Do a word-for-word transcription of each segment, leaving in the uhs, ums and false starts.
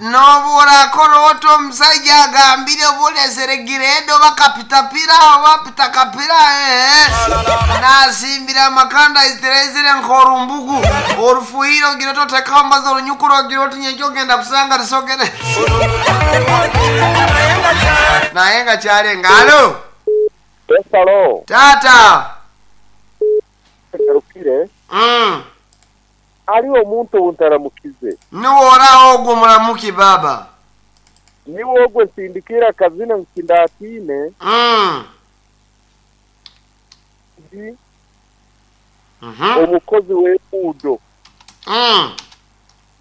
N'obu orakora ota omusajja agambire oba giredi oba kapitapira oba pitakapira eh, nasimbira amakanda iziraizire nk'orumbugu orufuhire ogira oti otekaho ambazi orunyukuru ogira oti nyenkya ogenda kusanga risogere naye nga kyalenga. Alo. Esalo. Tata. Garukire. Mm. Aliwo omuntu obuntaramukize. Niwe oraho ogwo muramuki baba. Niwe ogwo nsindikira akazina nkindatine. Mm. Ndi Mhm. omukozi w'enguudo. Mm.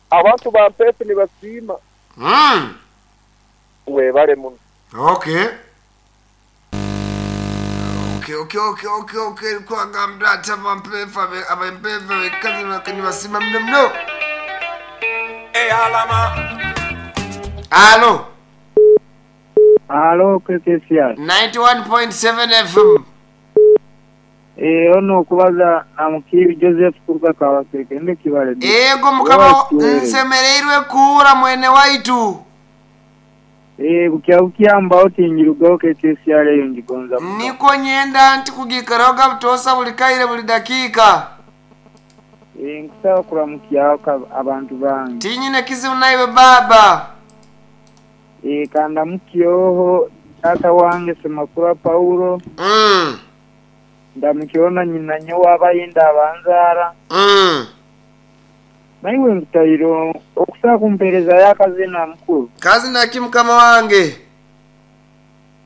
Abantu bampeefu nibasiima. Mm. Webale muno. Okay. Okay, okay, okay, okay, okay. Kwagambira ati abampeefu abe- abampeefu abekazi nibasiima muno muno. Alo. Alo, K K C R. ninety-one point seven F M. Eh, ono okubaza Namukiri Joseph kuruga Kabaseke ndi Kibale. Ego mukama. Watuwere. Nsemereirwe kuura mwene waitu. Eh, bukya bukyambaho tingirugaho K K C R eyo ngigonza muno. Niko nyenda nti kugikaraho gabutosa buli kaire buli dakiika. Eh, nkusaba kuramukyaho ka- abantu bange. Tinyine kizibu naiwe baba. Eh, kandamukyoho tata wange Semakula Paulo. Mm. Ndamukyoho na nyina nyowe abayinda abanzaara. Mm. Naiwe nkutayiro okusaba kumpeereza y'akazina mukuru. Kazi naki mukama wange?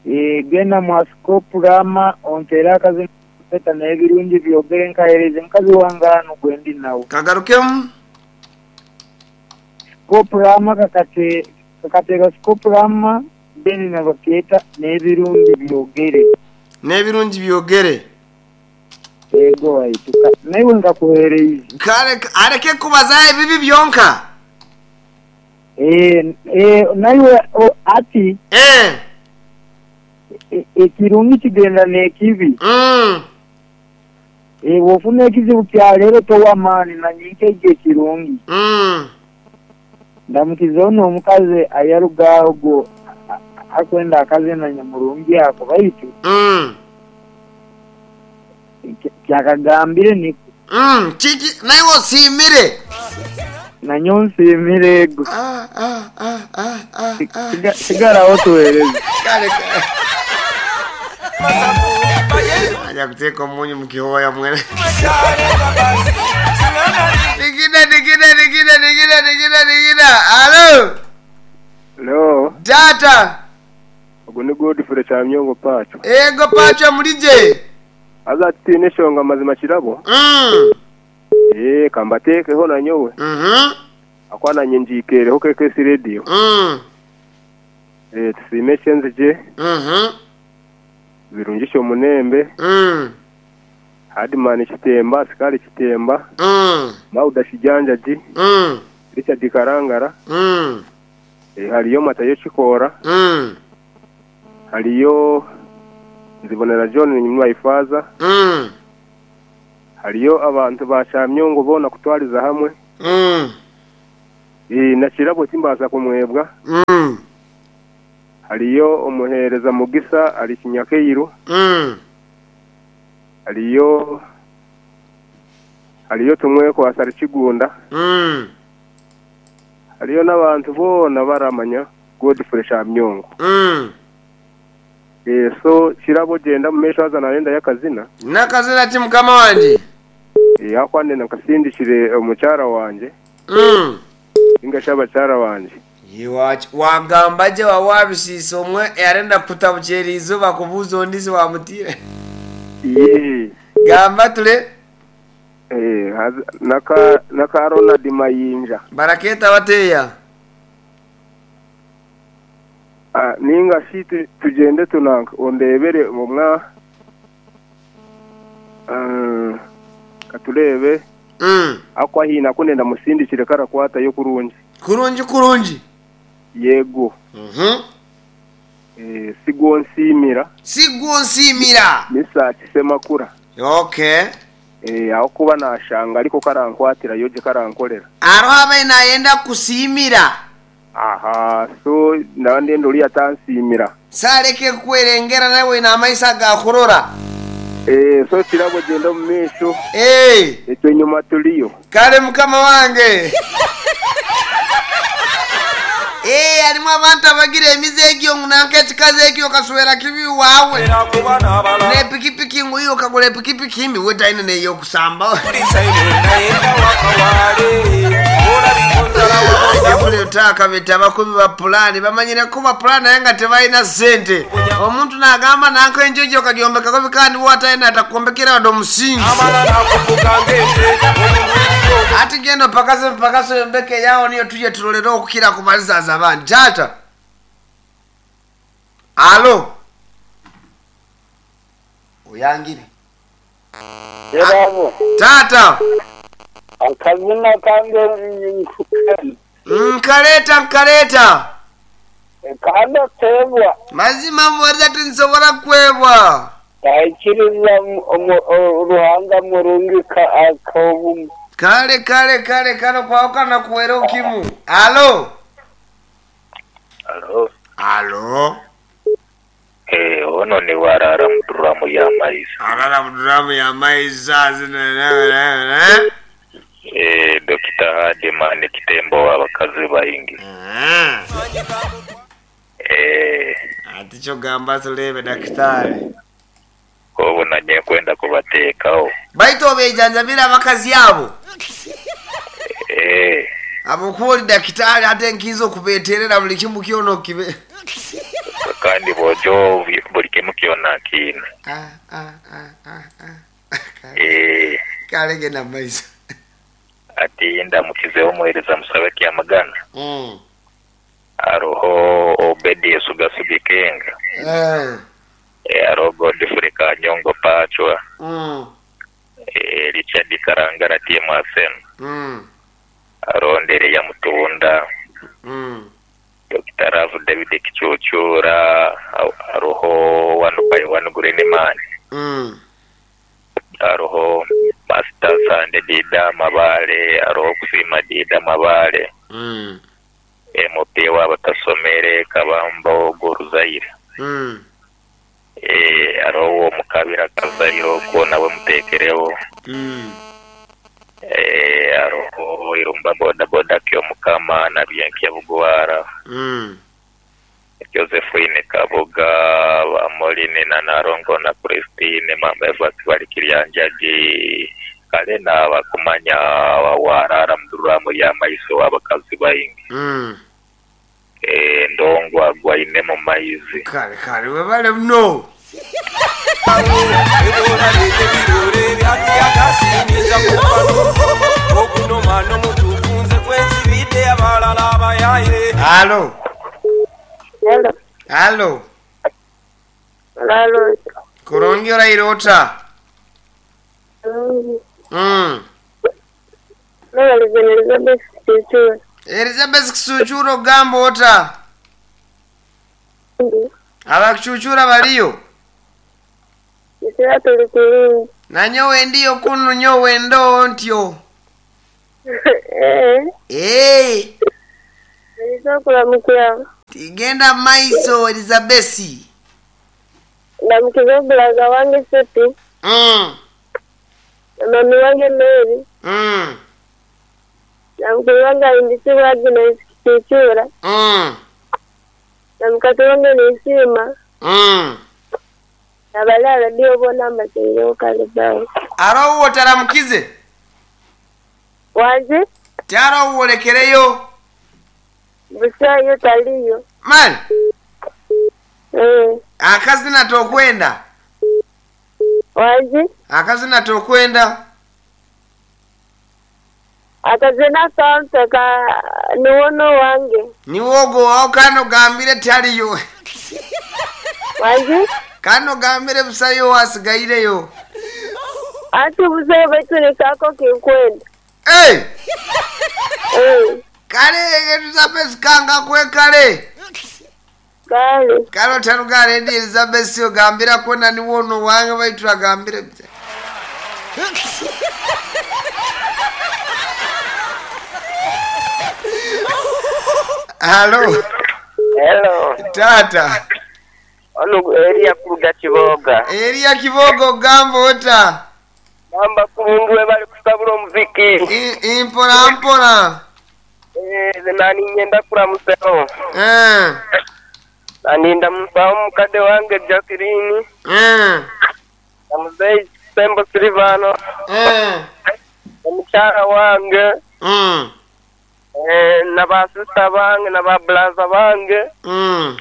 Eh, genda mwasikopu rama ompeere akazina peta n'ebirungi byogere nkahereze mukazi wange hano gwendi nawe. Kagarukemu. Sikopurama kakate kakateeka sikopurama then nabakeeta n'ebirungi byogere. N'ebirungi byogere. Ego waitu naiwe nkakuhereize. Kale areke kubaza ebibi byonka. Eh, eh, naiwe o- ati Eh. e- ekirungi kigenda n'ekibi. Mm. Eh, bw'ofuna ekizibu kya leero towa maani nanyinka ekyo ekirungi. Mm. Ndamukiza ono omukazi ayarugaho gwo a- a- akwenda akazina nyamurungi ako baitu Mm. ky- kyakagambire niko. Mm. Kiki naiwe osiimire. Nanyo nsiimire ego. Ah, ah, ah, ah, ah, ah. Siga- sigaraho tuweereze. Kale kale. Aja kuteeka omunyu mu kihooya mwene. Nikida nikida nikida nikida nikida nikida. Alo. Lo, Tata. ogwo ni Godfrey Kyamyongo Pacho. Ego Pacho mulije. Aza tutiine eshonga mazima kirabo. Mm. Eh, kambateekeho nanyowe. Mhm. Akwa nanye njiikereho K K C Radio. Mm. Eh, tusiime ekyenzigye, Mhm. birungisha omunembe, Mm. Hadman Kitemba, Asikari Kitemba, Mm. Mauda Kijanjaji, Mm. Richard Karangara, Mm. eh, hariyo Matayo Kikoora, Mm. hariyo Nzibonera John Nyimwaifaza, Mm. hariyo abantu ba Kyamyongo boona kutwariza hamwe. Mm. Eh, na kirabo timbaasa kumwebwa. Mm. Hariyo omuheereza Mugisa ari Kinyakeiru. Mm. Hariyo hariyo tumwekwasa ari Kigunda. Mm. Hariyo n'abantu boona baramanya Godfrey Kyamyongo. Mm. Eh, so kirabo genda mu maisho haza narenda y'akazina. Nakazina ki mukama wanje? Eh, akwande nakasindikire omukyara wanje Mm. ningashi abakyara wanje. Iwachi wagamba gye wawabisiisa omwe yarenda kutabukyera izooba kubuuza ondisi wamutire. Ye. Gamba tule. Eh, haza- naka naka Ronald Mayinja. Barakeeta bateeya. Ah, ningashi tu- tugende tunanka ondebere omwa Ah, katurebe. Mm. Akwa hina kunenda musindikire karakwatayo kurungi. Kurungi kurungi. Yego. Mhm. Eh, sigwo nsiimira. Sigwo nsiimira. Misaki Semakura. Okay. Eh, aho kuba nashanga ariko karankwatira yoje karankorera. Aroho abaye nayenda kusiimira. Aha, so ndaba ndenda ori atansiimira. Saleke kwerengera nawe na amaisa gakurora. Eh, so kirabo genda omu maisho. Eh, Ekyo enyuma turiyo. Kale mukama wange. Eh, harimu abantu abagira emize egyo ngu nanka ekikazi ekyo okaswera kibi wawe. N'epikipiki ngu iyo okagura epikipiki mbi we taine n'ey'okusamba. Efule beta abakubi ba pulaani bamanyire kuba pulaani naye nga tebalina ssente. Omuntu n'agamba nanka enjojo okagyombekako kandi watalina atakuombekera wadde omusingi. Ati genda opakase mpakase oyombeke yawo niyo tuje tulolere okukira ku malizaza abandi. Taata. Alo. Oyangire. Yerabo Taata. akazina kange Nkaleta nkaleta. kanda tebwa Mazima muwariza tinsobola kwebwa. aikiriza Ruhanga murungi akaobumu. Kale kale kale kale kwawukana kuwera okimu. Alo. Alo. Alo. Eh, ono ni warara muduramu ya maiza. Arara muduramu ya maiza zina. Eh, Dokita Hadimani Kitembo abakazi baingi. Eh. Eh, Ati kyogamba tulebe daktari. obu nanye kwenda kubateekawo. Baitu obejanjabira abakazi abo. Eh, Abo oli dakitari ate nkiza okubeeterera buli kimu kyona okibe. kandi bojo buli kimu kyona kiina. Ah, ah, ah, ah, ah. Eh, Kale genda mu maiso. ati ndamukizeho omuheereza musabe kyamagana. Mm. Aroho Obedi Sugasugi Kenga. Eh. Eh, aroho Godfrey Kanyongo Pachwa. Mm. Eh, Richard Karangara T M Asen. Mm. Aroho Ndere ya Mutunda. Mm. Doctor Rav David Kichuchura. Aroho One by One Green Man. Mm. Aroho Master Sande Dida Mabale. Aroho Kusima Dida Mabale. Mm. M P w'abatasomere Kabambo Goruzaire. Mm. Eh, aroho Mukabira Kazairo ko nawe mutekereho. Mm. Eh, aroho Irumba boda boda kyo Mukama na Byenkia Bugwara. Mm. Josephine Kabuga Bamoline na Narongo na Christine Mama Eva Kibalikiryanjagi kale n'abakumanya warara muduramu ya maiso abakazi baingi. Mm. Eh, ndongwa gwaine mu maizi. Kale kale webale muno. Alo. Hello. Alo. Hello. Kurungi orairota. Mm. Mm. Nabalize Elizabeth Kisuchura. Elizabeth Kisuchura ogamba ota? Abakuchuchura baliyo? Kisira tuli kulungi. Nanyowe ndiyo kunu nyowe ndo ntyo. Eh. Eh. Niliza kulamukira. Tigenda maiso Elizabeth. Ndamukiza bulaza wange Sepi. Mm. Na mami wange Mary. Mm. Na mkulu wange Aindisiwa Agnes Kisuchura. Mm. Na mkati wange Nisima. Mm. Na balala ndio bona masenyo kalibao. Aro uwo taramukize? Waje? Taro uwo lekereyo? Busayo taliyo. Mali? Eh. Akazina tokwenda? Waje? Akazina tokwenda? Akazina kampe ka niwono wange. Niwogo wao kano gambire taliyo. Waje? Kano gambire busayo wasigaireyo. Ati busayo baitu ni kako kinkwenda. Hey! Eh. Kale Elizabeth kanga kwe kale. Kale. Kale tarugare ndi Elizabeth ogambira kwenda niwono wange baitu agambire. Halo Hello. tata Ono Elia kuruga Kiboga. Elia Kibogo gamba ota Namba kulungu we bali kusabula omuziki. I- impora mpora Eh, nani nyenda kulamusawo. Eh, Naninda musawo mukadde wange Jacqueline. eh, Na muzeeyi Sembo Silvano. eh, Omukyala wange. mm, Eh, na basista bange na babulaza bange. mm.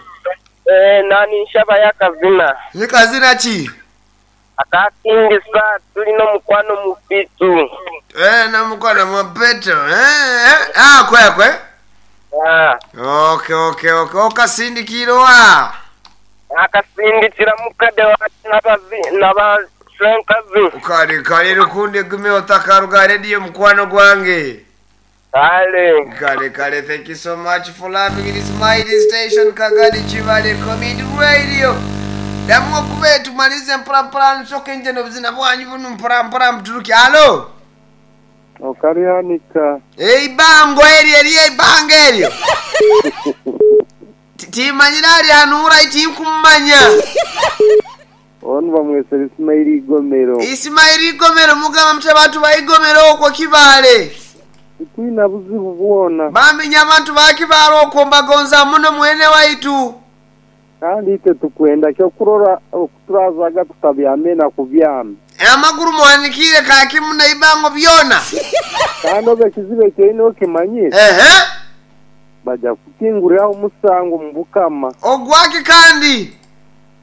Eh, nani nshaba yakazina. Ni kazina ki Akakingisa tulina omukwano mufitu. Eh, namukwano mupeto Eh, eh. Ah, kwekwe Ah. okay okay okay okasindikirwa Akasindikira mukadde wange n'abazi n'abashenkazi. kale kale lukundi egume otakaruga rediyo mukwano gwange Kale. kale kale thank you so much for loving this mighty station kagadi chivale comedy radio damu okube tumalize mpora nsoke nje nobuzina bwanyu bunu mpora mpora mturuki alo okalihanika eibango eryo eryo eibango eryo Ti- timanyira ali hanura itinkumanya onu bamwesera isimaili igomero isimaili igomero mugamba mutya bantu baigomero okwo kibale tikwina buzibu bwona bamenya abantu bakibale okwo mbagonza muno mwene waitu kandi ite tukwenda kyokurora okuturazaga tutabyame na kubyama amaguru muhanikire kakimu na ibango byona kandi oba ekizibu ekyoine okimanyire ehe bajja kukinguriraho omusango mu bukama ogwaki kandi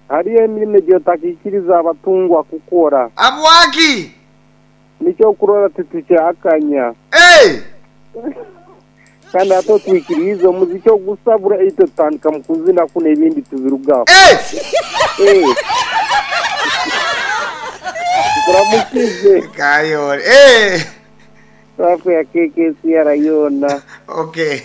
hariyo emirimo egyotakikiriza abatungwa kukora abwaki nikyo okurora titukyakanya Hey! kandi ate otwikirize omuziki ogusabura itwe tutandika mu kuzina kuno ebindi tubirugaho Hey! Eh. Tukuramukize kayore hey! safu ya K K C R yona okay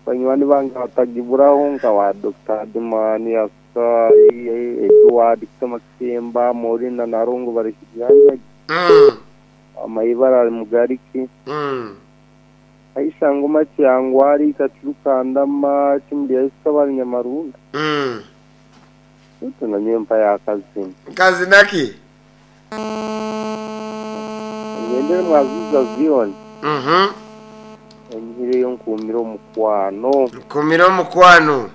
banywani bange batagiburaho nka wa Doctor Adimani Asai Edward Kitamakisemba Morina Narungu bari kijanja mm. amaibara ari mugariki Mm. Aisha Ngoma Kyangwari Kachirukandama Kimuli Aisha bari Nyamarunda Mm. tunanye mpa yakazina kazinaki ngendere mwaziza Zion mhm enyihireyo nkumire omukwano nkumira omukwano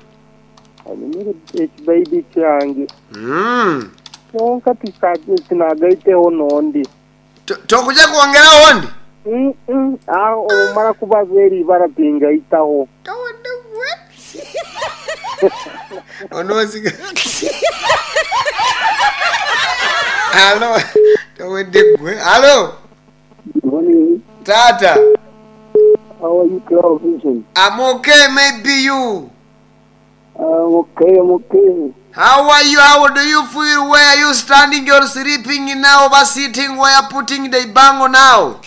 anyumire ekibaidi kyange mm. kyonka tinagaiteho nondi To- tokuja kwongeraho ndi Mm, mm. aho omara kubaza eri ibara tingaitaho onoziga alo towedde gwe alo Morning. tata How are you, Cloud Vision? I'm okay maybe you I'm okay, I'm okay. How are you? How do you feel? Where are you standing or sleeping now? Or sitting? Where putting the bango now?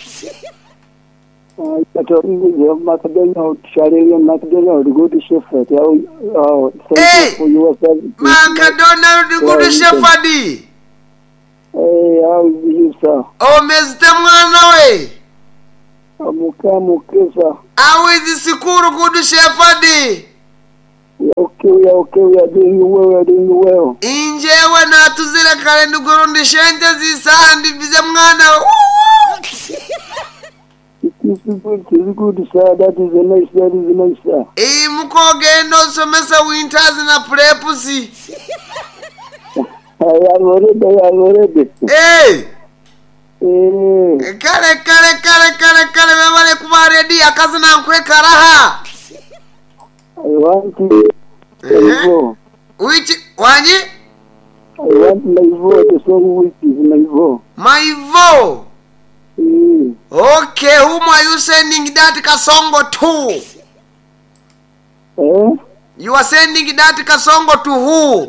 Uh, talking with you, McDonald, Charlie McDonald, good shepherd. How, oh, thank Hey! you for your service. McDonald good Yeah, shepherd. Hey, how is you, sir? Omezite mwana we. I'm okay, I'm okay, sir. How is the school good shepherd? We are okay, we are okay, we are doing well, we are doing well. Injewe natuzire kare ndigurundi shente zisandi bize mwana we. It is good, it is good, sir. That is a nice, that is a nice, sir. Iyi mukogenda osomesa winters na preps. I am already, I am already. Hey! Eh, Kale kale kale kale kale bebale kuba ready akazina nkwekaraha. I want to Eh? my Which wanyi? I want my vote, the song which is my vote. My vote. Eh, Okay, whom are you sending that kasongo to? eh? You are sending that kasongo to who?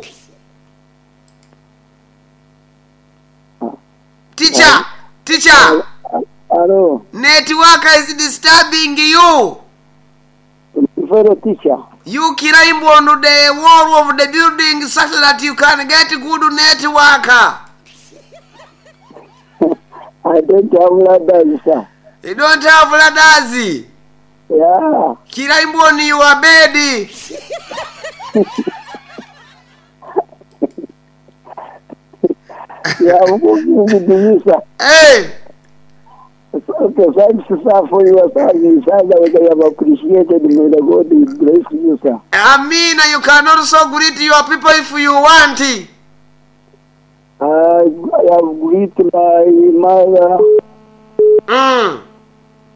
Teacher, teacher, Hello, network is disturbing you. my fellow teacher. You climb on the wall of the building such that you can get good network. I don't have ladders, sir. You don't have ladders. Eh, Yeah. Kiraimbwa on your bed. Yeah, hey. Okay, thanks, sir, for your service. I have appreciated. May the God bless you, sir. Amina, you can also greet your people if you want. I, I have greeted my mother, mm.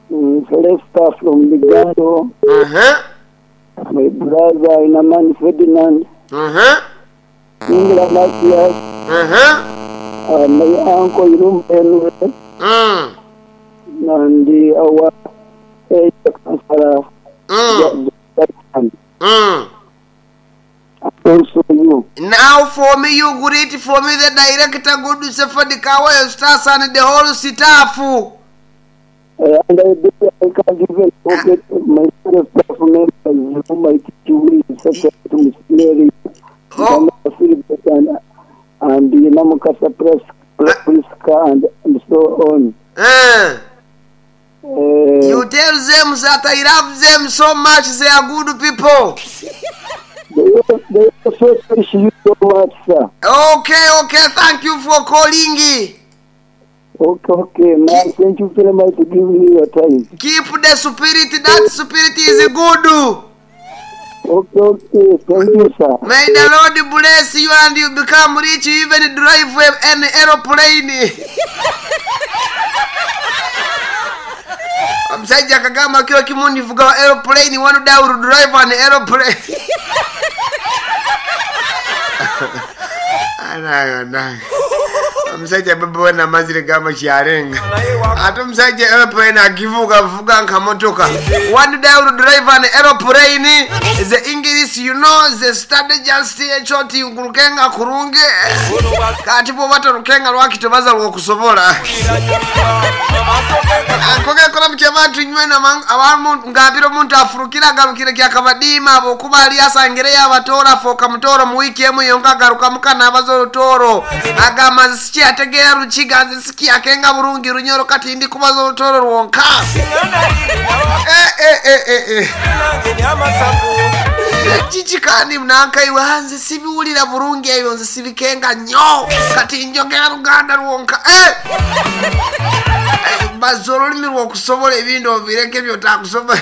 Celesta from Ligando. Uh-huh. My brother, Inaman Ferdinand. Uh-huh. Ingla Matias. Uh-huh. Uh, my uncle, Irum Henry. Mm. And the, our area councillor, mm. Mm. Also you. Now for me, you greet for me the director, good Sefadi Kawayo Stars and the whole staff. Uh, and I, do, I can't even forget my fellow staff members whom I teach with, such as Miss Mary, oh. and, and the Namukasa Priska, and, and so on. Uh. Uh, you tell them that I love them so much, they are good people. They, they also appreciate you so much, sir. Okay, okay, thank you for calling. Okay, okay, man. Thank you very much for giving me your time. Keep the spirit, that spirit is good. Okay, okay, thank you, sir. May the Lord bless you and you become rich, even drive an aeroplane. Omusajja akagamba kiro kimu ndivuga aeroplane, one day I will drive an aeroplane. Anayo, anayo. Omusajja baba wena amazire gamba kyarenga. Ate omusajja aeroplane agivuga vuga nka motoka. One day I will drive an aeroplane. The English, you know, the study just ekyo nkurukenga kurungi. Kati bw'oba torukenga lwaki tobaza lw'okusobola. Akoge kola mukyabantu nywe abantu ngambira omuntu afurukira agarukire kyakabadiima abokuba ali asangire y'abatoora fooka mutooro mu wiiki emu yonka agaruka mukana abaza orutooro agamba nze sikyategeera rukiga nze sikyakenga burungi runyoro kati ndi kubaza orutooro rwonka. Eh, eh, eh, eh, eh. Kiki kandi munankaiwe nze sibiwulira burungi ebyo nze sibikenga nnyo kati njogera Luganda lwonka. Eh! Baza olulimi lw'okusobola ebintu obireke by'otakusobola.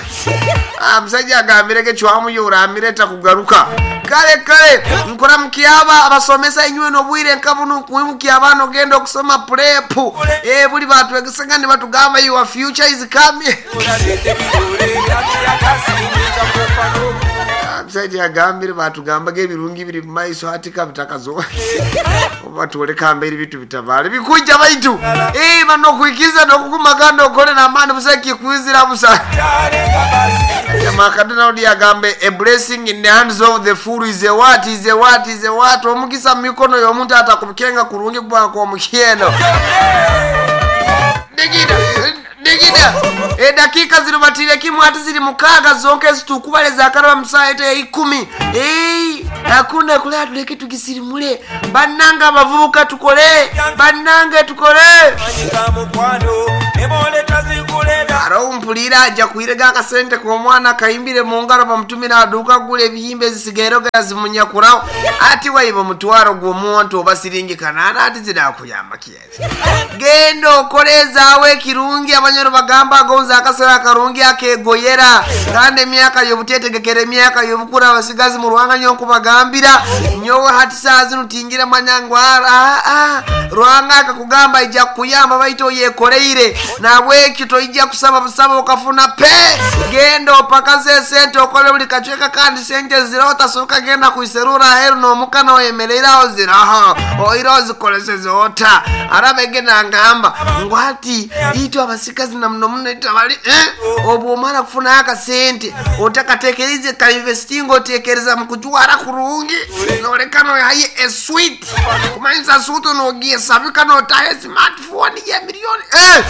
Omusajja agambireke cwamuyoora amireta kugaruka. Kale kale nkola mukyaba abasomesa inywe n'obwire nka buno nkuwimukia abaana ogenda okusoma prep. Eh, buli batwegesanga ne batugamba your future is coming. Omusajja agambire batugambaga ebirungi biri mu maiso ati kabitakazo. Oba twoleka mbeera ebintu bitabaale bikujja baitu. Eh, bano okwikiza n'okukumaganda okole n'amaani busa kikwizira busa. Makadona agambe a blessing in the hands of the fool is a what is a what is a what. Omukisa mu mikono y'omuntu atakukenga kurungi kubanga kw'omukyeno. Digida digida. Edakika zirubatire kimu ati ziri mukaaga zonke zitukubaleza akaraba musaha ete ikumi. Eh, hakuna kula tuleke tukisirimule. Bannanga abavubuka tukole. Bannange tukole. Aro mpulira ajja kuirega akasente ku mwana kayimbire mu ngalo bamutumira aduuka gula ebiyimba ezisigairo gazimunyakurawo ati waiba omutwaro gw'omuntu oba siringi kanaana ati zinakuyamba kiyazi. Genda okolezaawo ekirungi abanyoro bagamba agonza akasera akarungi akegoyera kandi emyaka y'obuteetegekera emyaka y'obukura abasigazi mu Ruhanga nnyo nkubagambira nyowe hati saa zino tingira manyangwara. Ah, Ruhanga akakugamba ijja kukuyamba baitu oyekoleire nabwekyo toijja kusaba busaba okafuna pe. Genda opakaze esente okole buli kacweka kandi sente ziraho tasooka genda kuiserura aheru n'omukana oyemereiraho ziraho oira ozikoleseze ota. Arabege nangamba ngu ati itwe abasikazi na muno muno itwe abali eh? Obwo omara kufunayo akasente otakatekereze ka investinga otekereza mu kujwara kurungi noleka noyaye eswit kumanyisa suutu nogyesabika notaha smartphone ya miliyoni eh!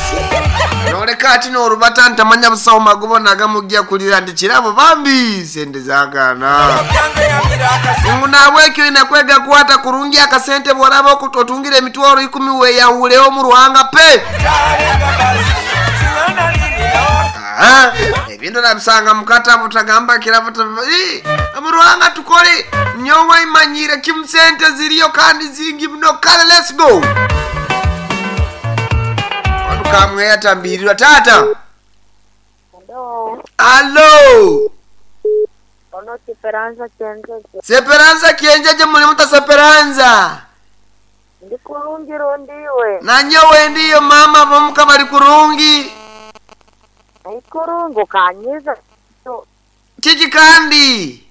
Noleka ati norubata ntamanya busawo magobo nagamujja kulira nti kirabo bambi sente zagaana. Ngu nabwekyo inakwega kukwata kurungi akasente bworaba otungire emitwaro ikumi weyahuleho mu Ruhanga pe. Ah, ebintu nabisanga mukatabu tagamba kirabo mu Ruhanga tukole nyowe imanyire kimu sente ziriyo kandi zingi muno. Kale let's go. Kamwe yatambirirwa tata. Hello. Alo. Ono Seperanza Kienjeje. Seperanza Kienjeje muli muta Seperanza. Ndi kurungi rundiwe. Nanyowe ndiyo mama bomuka bali kurungi. Ikurungu kanyiza. Kiki kandi?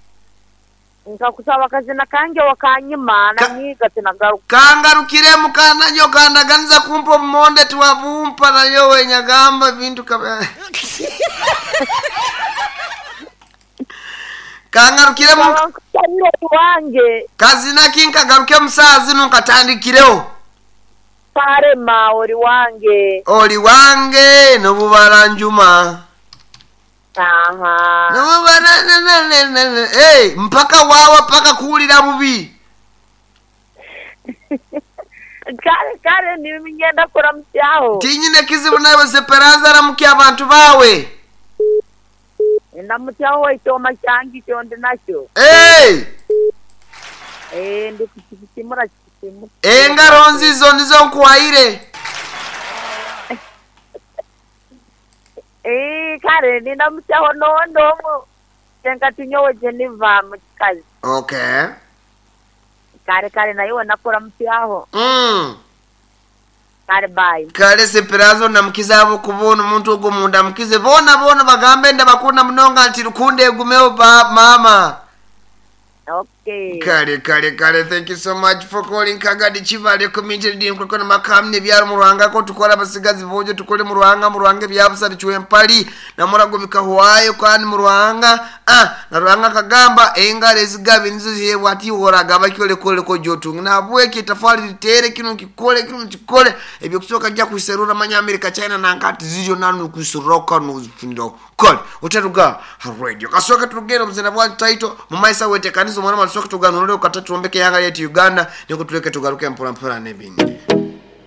Nkakusaba kazina kange wakanyima Ka- nanyiga tinagaruka. Kangarukire mukananyo kandaganiza kumpa obumonde tiwabumpa nayowe nyagamba bintu kaba. Kangarukire mu Nkusabire wange kazina kinkagaruke musaa zino nkatandikireho. parema ori wange. Oli wange nobubala njuma. Aha. Nobubala na na na na na. Hey, mpaka wawa paka kuwulira bubi. Kale kale nimingenda kuramutyaho. Tinyine kizibu nawe Seperanza ramukia abantu bawe. Ndamutyaho ikyoma kyange kyo ndi nakyo. Hey! Eh ndi kukisimura kisimura. Engaro nzizo nizo nkuwaire. Eh kale ndamutyaho nondo Senkatinyowe Geneva mu kikazi. Okay. Kale kale nayo nakuramutyaho. Mm. Kale bye. Kale Seperanza namukiza abo kubona omuntu ogwo munda mukize bona bona bagambe ndabakunda munonga nti rukunde egumeho ba mama. Okay. Kale kale kale, thank you so much for calling Kagadi Chibale community din kwako na makamne byaro mu Ruhanga ko tukora abasigazi bojo tukole mu Ruhanga mu Ruhanga byabusa bicuwe mpali na murago bikahwayo kandi mu Ruhanga ah na Ruhanga kagamba engare ezigabi nizo zihebwa ati horaga bakyole kole ko jotunga na bweke tafali litere kino kikole kino kikole ebyo kusoka jya kuserura manya America China na nkati zijo nanu kusuroka no kole utaruga radio kasoka turugero mzena bwa title mu maisa wete kanisa mwana masoka tuganurire ukatatu ombeke yanga yetu Uganda niko tuleke tugaruke mpora mpora nebindi.